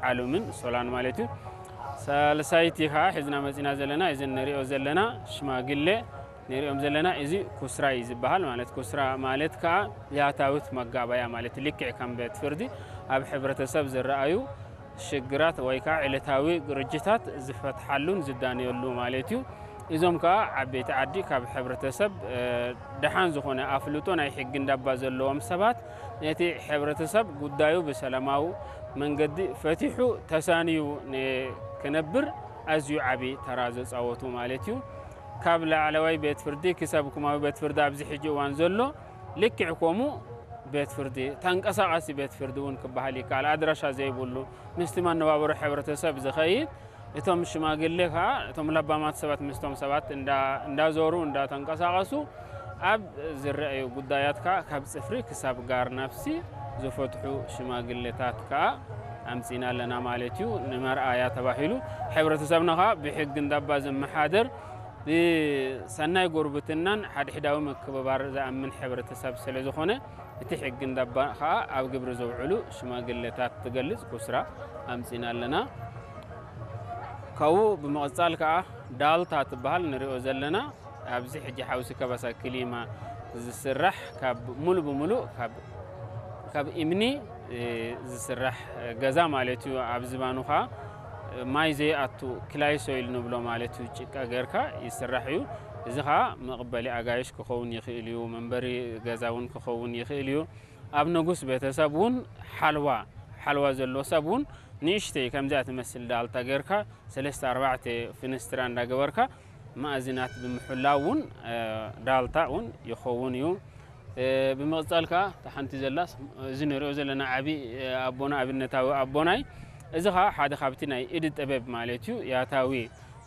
ዓሉምን ሶላን ማለት እዩ። ሳልሳይቲ ከዓ ሒዝና መፂና ዘለና፣ እዚ ንሪኦ ዘለና ሽማግሌ ንሪኦም ዘለና፣ እዚ ኩስራ እዩ ዝበሃል። ማለት ኩስራ ማለት ከዓ ያታዊት መጋባያ ማለት፣ ልክዕ ከም ቤት ፍርዲ ኣብ ሕብረተሰብ ዝረኣዩ ሽግራት ወይ ከዓ ዕለታዊ ግርጅታት ዝፈትሓሉን ዝዳነየሉ ማለት እዩ። እዞም ከዓ ዓበይቲ ዓዲ ካብ ሕብረተሰብ፣ እ፣ ደሓን ዝኾነ ኣፍልጦ ናይ ሕጊ እንዳባ ዘለዎም ሰባት፣ ነቲ ሕብረተሰብ ጉዳዩ ብሰላማዊ መንገዲ ፈቲሑ ተሳንዩ ን-፣ ክነብር ኣዝዩ ዓቢ ተራ ዘጻወቱ ማለት እዩ። ካብ ላዕለዋይ ቤት ፍርዲ ክሳብ ኩማዊ ቤት ፍርዲ ኣብዚ ሕጂ እዋን ዘሎ ልክዕ ከምኡ ቤት ፍርዲ፣ ተንቀሳቓሲ ቤት ፍርዲ እውን ክበሃል ይከኣል። ኣድራሻ ዘይብሉ፣ ምስቲ መነባብሮ ሕብረተሰብ ዝኸይድ፣ እቶም ሽማግሌ ከዓ፣ እቶም ለባማት ሰባት ምስቶም ሰባት እንዳ-፣ እንዳዞሩ፣ እንዳተንቀሳቐሱ ኣብ ዝረኣዩ ጉዳያት ከዓ ካብ ጽፍሪ ክሳብ ጋር ነፍሲ ዝፈትሑ ሽማግሌታት ከዓ ኣምጺና ኣለና ማለት እዩ። ንመርኣያ ተባሂሉ፣ ሕብረተሰብና ከዓ ብሕጊ እንዳባ ዝመሓደር፣ ብሰናይ ጉርብትናን ሓድሕዳዊ ምክብባር ዝኣምን ሕብረተሰብ ስለ ዝኾነ፣ እቲ ሕጊ እንዳባ ከዓ ኣብ ግብሪ ዘውዕሉ ሽማግሌታት ትገልጽ ኩስራ ኣምጺና ኣለና። ካብኡ ብምቕጻል ከዓ ዳልታ ትበሃል ንሪኦ ዘለና፣ ኣብዚ ሕጂ ሓውሲ ከበሳ ክሊማ ዝስራሕ፣ ካብ ሙሉ ብሙሉ ካብ፣ ካብ እምኒ፣ እ፣ ዝስራሕ ገዛ ማለት እዩ። ኣብ ዝባኑ ከዓ ማይ ዘይኣቱ ክላይ ሶይል ንብሎ ማለት እዩ። ጭቃ ጌርካ ይስራሕ እዩ። እዚ ከዓ መቐበሊ ኣጋይሽ ክኸውን ይኽእል እዩ፣ መንበሪ ገዛ እውን ክኸውን ይኽእል እዩ። ኣብ ንጉስ ቤተሰብ እውን ሓልዋ፣ ሓልዋ ዘለዎ ሰብ እውን ንእሽተይ ከምዚኣ ትመስል ዳልታ ጌርካ ሰለስተ ኣርባዕተ ፍንስትራ እንዳገበርካ ማእዝናት ብምሕላው እውን፣ እ፣ ዳልታ እውን ይኸውን እዩ። እ፣ ብምቕጻል ከኣ እታ ሓንቲ ዘላስ እዚ ንሪኦ ዘለና ዓቢ፣ እ፣ ኣቦና፣ ኣብነታዊ ኣቦናይ፣ እዚ ከኣ ሓደ ካብቲ ናይ ኢድ ጥበብ ማለት እዩ። ያታዊ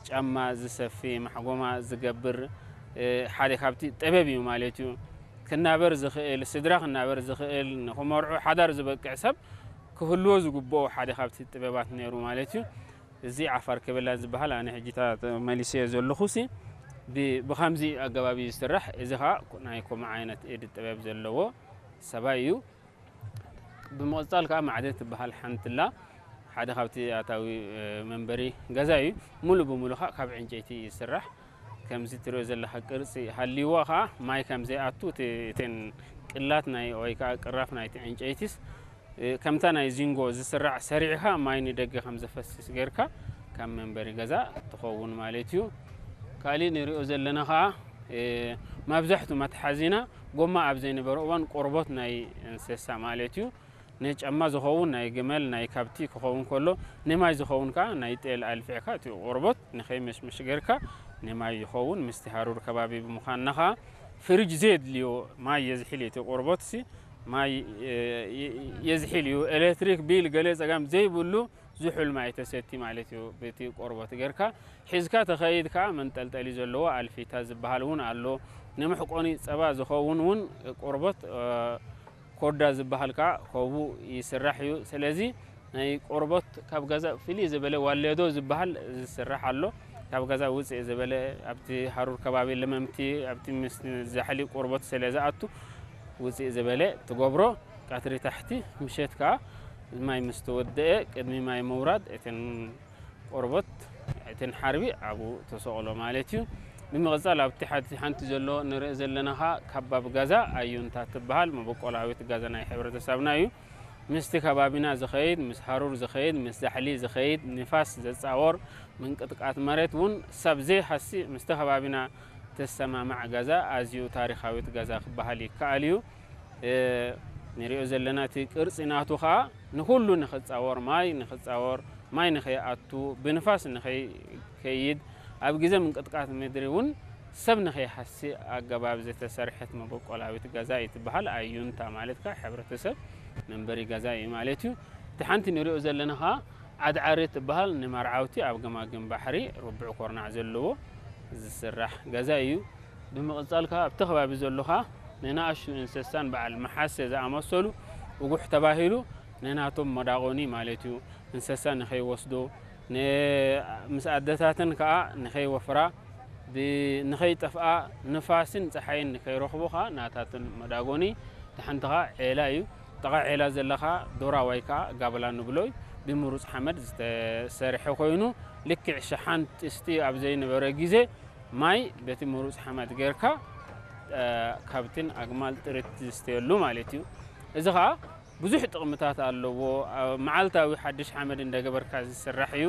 ጫማ ዝሰፊ፣ ማሕጎማ ዝገብር፣ እ፣ ሓደ ካብቲ ጥበብ እዩ ማለት እዩ። ክናበር ዝኽእል፣ ስድራ ክናበር ዝኽእል፣ ንኽመርዑ ሓዳር ዝበቅዕ ሰብ ክህልዎ ዝግብኦ ሓደ ካብቲ ጥበባት ነይሩ ማለት እዩ። እዚ ዓፋር ከበላ ዝበሃል ኣነ ሕጂ ታ-፣ መሊሰዮ ዘለኹሲ ብ-፣ ብኸምዚ ኣገባብ እዩ ዝስራሕ። እዚ ኸኣ ናይ ከምኡ ዓይነት ኢድ ጥበብ ዘለዎ ሰባይ እዩ። ብምቕጻል ከኣ ማዕደ ትበሃል ሓንቲ ኣላ። ሓደ ካብቲ ኣታዊ፣ እ፣ መንበሪ ገዛ እዩ። ሙሉ ብሙሉ ከኣ ካብ ዕንጨይቲ ይስራሕ። ከምዚ ትሪኦ ዘለኻ ቅርጺ ሃልይዎ ከኣ ማይ ከም ዘይኣቱ እቲ፣ እተን ቅላት ናይ ወይ ከኣ ቅራፍ ናይቲ ዕንጨይቲስ፣ እ፣ ከምታ ናይ ዚንጎ ዝስራዕ ሰሪዕካ ማይ ንደገ ከም ዘፈስስ ጌርካ ካብ መንበሪ ገዛ ትኸውን ማለት እዩ። ካሊእ ንሪኦ ዘለና ከኣ፣ እ፣ መብዛሕቱ መትሓዚና ጎማ ኣብ ዘይነበረ እዋን ቆርቦት ናይ እንስሳ ማለት እዩ። ንጫማ ዝኸውን ናይ ግመል፣ ናይ ከብቲ ክኸውን ከሎ፣ ንማይ ዝኸውን ከኣ ናይ ጤል ኣልፊዕካ እቲ ቆርቦት ንኸይመሽመሽ ጌርካ ንማይ ይኸውን። ምስቲ ሃሩር ከባቢ ብምዃንና ከኣ ፍሪጅ ዘየድልዮ ማይ የዝሒል እዩ። እቲ ቆርቦትሲ ማይ፣ እ፣ የ-፣ የዝሒል እዩ። ኤሌክትሪክ ቢል ገለ ጸገም ዘይብሉ ዝሑል ማይ ተሰቲ ማለት እዩ። በቲ ቆርቦት ጌርካ ሒዝካ ተኸይድ ከኣ መንጠልጠሊ ዘለዎ ኣልፊታ ዝበሃል እውን ኣሎ። ንመሕቆኒ ጸባ ዝኸውን እውን ቆርቦት፣ እ፣ ኮዳ ዝበሃል ከኣ ከብኡ ይስራሕ እዩ። ስለዚ ናይ ቆርቦት ካብ ገዛ ፍልይ ዝበለ ዋሌዶ ዝበሃል ዝስራሕ ኣሎ። ካብ ገዛ ውፅእ ዝበለ ኣብቲ ሃሩር ከባቢ ለመምቲ ኣብቲ ምስ ዛሕሊ ቆርቦት ስለ ዝኣቱ ውፅእ ዝበለ ትገብሮ። ቀትሪ ታሕቲ ምሸት ከኣ ማይ ምስ ተወደአ ቅድሚ ማይ ምውራድ እተን ቆርቦት እተን ሓርቢ ኣብኡ ተሰቕሎ ማለት እዩ። ብምቕጻል ኣብቲ ሓንቲ፣ ሓንቲ ዘሎ ንርኢ ዘለና ኸኣ ካባብ ገዛ ኣዩንታ ትበሃል መበቆላዊት ገዛ ናይ ሕብረተሰብና እዩ። ምስቲ ከባቢና ዝኸይድ፣ ምስ ሃሩር ዝኸይድ፣ ምስ ዛሕሊ ዝኸይድ፣ ንፋስ ዘጻወር፣ ምንቅጥቃት መሬት እውን ሰብ ዘይሃሲ ምስቲ ከባቢና ተሰማማዕ ገዛ ኣዝዩ ታሪኻዊት ገዛ ክበሃል ይከኣል እዩ። እ፣ ንሪኦ ዘለና እቲ ቅርጺ ናቱ ኸኣ ንኹሉ ንኽጻወር፣ ማይ ንኽጻወር፣ ማይ ንኸይኣቱ፣ ብንፋስ ንኸይከይድ፣ ኣብ ግዜ ምንቅጥቃት ምድሪ እውን ሰብ ንኸይሃሲ ኣገባብ ዝተሰርሐት መበቆላዊት ገዛ እዩ ትበሃል። ኣዩንታ ማለት ከኣ ሕብረተሰብ መንበሪ ገዛ እዩ ማለት እዩ። እቲ ሓንቲ ንሪኦ ዘለና ኸኣ ዓድዓሪ ትበሃል ንመርዓውቲ ኣብ ገማግም ባሕሪ ርቡዕ ኮርናዕ ዘለዎ ዝስራሕ ገዛ እዩ። ብምቕጻል ከኣ ኣብቲ ከባቢ ዘሎ ኸኣ ንንኣሽቱ እንስሳን በዓል መሓሰ ዝኣመሰሉ እጉሕ ተባሂሉ ንናቶም መዳቖኒ ማለት እዩ። እንስሳ ንኸይወስዶ፣ ን-፣ ምስ ኣደታተን ከኣ ንኸይወፍራ፣ ብ-፣ ንኸይጠፍኣ፣ ንፋስን ጸሓይን ንኸይረኽቦ ከኣ ናታተን መዳጎኒ። እቲ ሓንቲ ከኣ ዔላ እዩ። ጥቓ ዔላ ዘላ ከኣ ዶራ ወይ ከኣ ጋብላ ንብሎ እዩ። ብምሩፅ ሓመድ ዝተሰርሐ ኮይኑ፣ ልክዕ ሸሓን ጥስቲ ኣብ ዘይነበረ ግዜ ማይ በቲ ምሩፅ ሓመድ ጌርካ ካብትን ኣግማል ጥሪት ዝስተየሉ ማለት እዩ። እዚ ከዓ ብዙሕ ጥቕምታት ኣለዎ። መዓልታዊ ሓድሽ ሓመድ እንደገበርካ ዝስራሕ እዩ።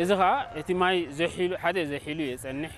እዚ ከዓ እቲ ማይ ዘሒሉ ሓደ ዘሒሉ የፀንሕ።